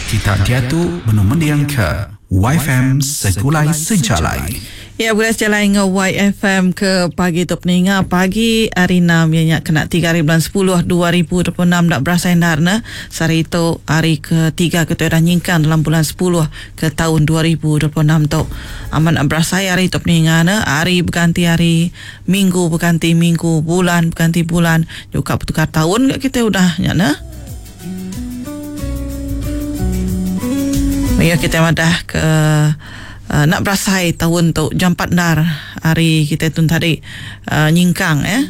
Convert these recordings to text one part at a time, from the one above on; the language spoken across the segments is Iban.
Kita diatu benung mendingka YFM Segulai Sejalai. Ya begulai sejalai enggau YFM ke pagi tu peninga pagi hari enam iya nya kena tiga hari bulan sepuluh 2026 enda berasai endar ne sehari tu hari ke tiga ke tu udah nyingkang dalam bulan sepuluh ke taun 2026 tu amat enda berasai hari tu peninga ne hari beganti hari minggu beganti minggu bulan beganti bulan nyuka betukar taun ga kitai udah nya ne. Mayuh kitai madah ke enda berasai taun tu jampat endar hari kitai tu tadi nyingkang eh.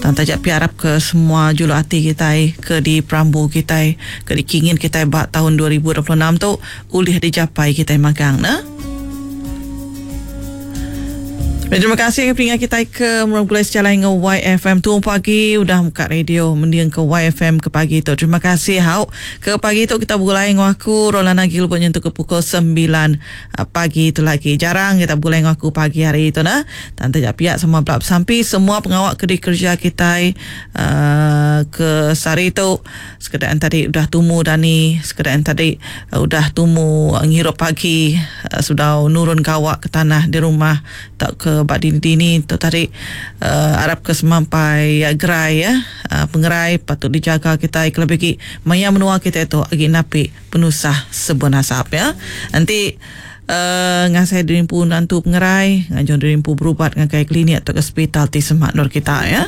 Tang taja pia arap ke semua juluk ati kitai ke diperambu kitai ke dikingin kitai ba taun 2026 tu ulih dijapai kitai magang ne. Terima kasih ke peninga kitai ke merau gulai sejalai enggau YFM tu pagi udah muka radio mending ke YFM ke pagi tu. Terima kasih hau. Ke pagi tu kita begulai enggau aku Rolana Gilbert nyentuk ke pukul 9 ah, pagi tu lagi. Jarang kita begulai enggau aku pagi hari tu nah. Tang taja pia semua belak besampi semua pengawa ke dikerja kitai uh, ke sehari tu Sekeda en tadi udah tumu dani, sekeda en tadi udah tumu ngirup pagi sebedau nurun gawa ke tanah di rumah tauka ba dini-dini tu tadi arap ke semampai gerai ya. Pengerai patut dijaga kitai kelebih agi maya menua kitai tu agi napi penusah sebun asap ya. Enti ngasai diri empu nentu pengerai ngajung diri empu berubat ngagai klinik tauka sepital ti semak endur kita ya.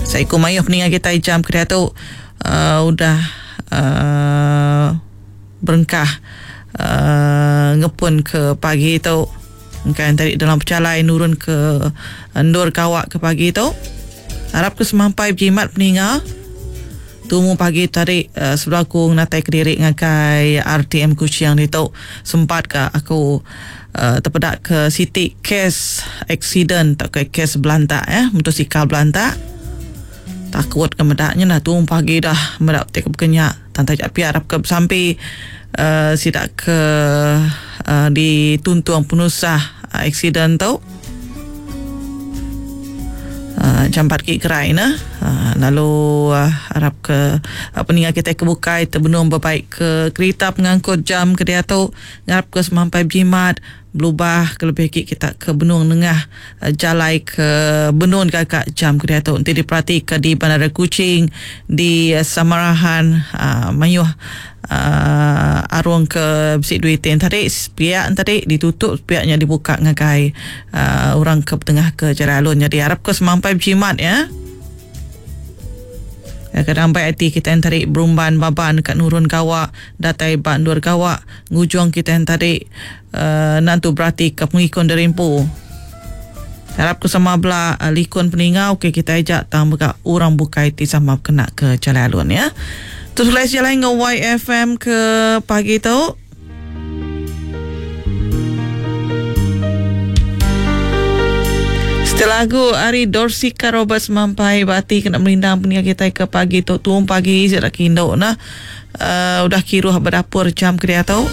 Seiku mayuh peninga kitai jam ke diatu udah berengkah ngepun ke pagi tu. Engka tadi dalam pejalai nurun ke endur gawa ke pagi tu. Arap ke semampai bejimat peninga. Tumu pagi tadi sebedau aku ngenatai kediri ngagai RTM Kuching ditu sempat ka aku tepeda ke siti kes accident tauka kes belantak eh motosikal belantak. Takut ke meda nya nah tumu pagi dah meda ti ke baka nya tang taja pia arap ke besampi sida ke dituntung penusah accident tu. Jampat agi gerai ne lalu arap ke peninga kitai ke bukai ti benung bebaik ke kerita pengangkut jam ke diatu ngarap ke semampai bejimat belubah kelebih agi kita ke benung nengah jalai ke benung gaga jam ke diatu enti diperati ke di Bandar Kuching di Samarahan mayuh Arung ke bisi duit ti tadi sepiak ne tadi ditutup sepiak nya dibuka ngagai orang ke betengah ke jalai alun nyadi arap ke semampai bejimat ya. Kadang bai ati kitai tadi berumban baban ka nurun gawa datai ba endur gawa ngujung kitai tadi nentu berati ke pengikun diri empu. Arap ke sama bela likun peningau ke kitai aja tang mega orang bukai ti sama bekena ke jalai alun ya. Terus belai sejalai enggau YFM ke pagi tu. Setelah lagu ari Dorsika Roberts mampai ba ati kena merindang peninga kitai ke pagi tu tuung pagi sida ke indu nah. Uh, udah kiruh ba dapur jam ke diatu.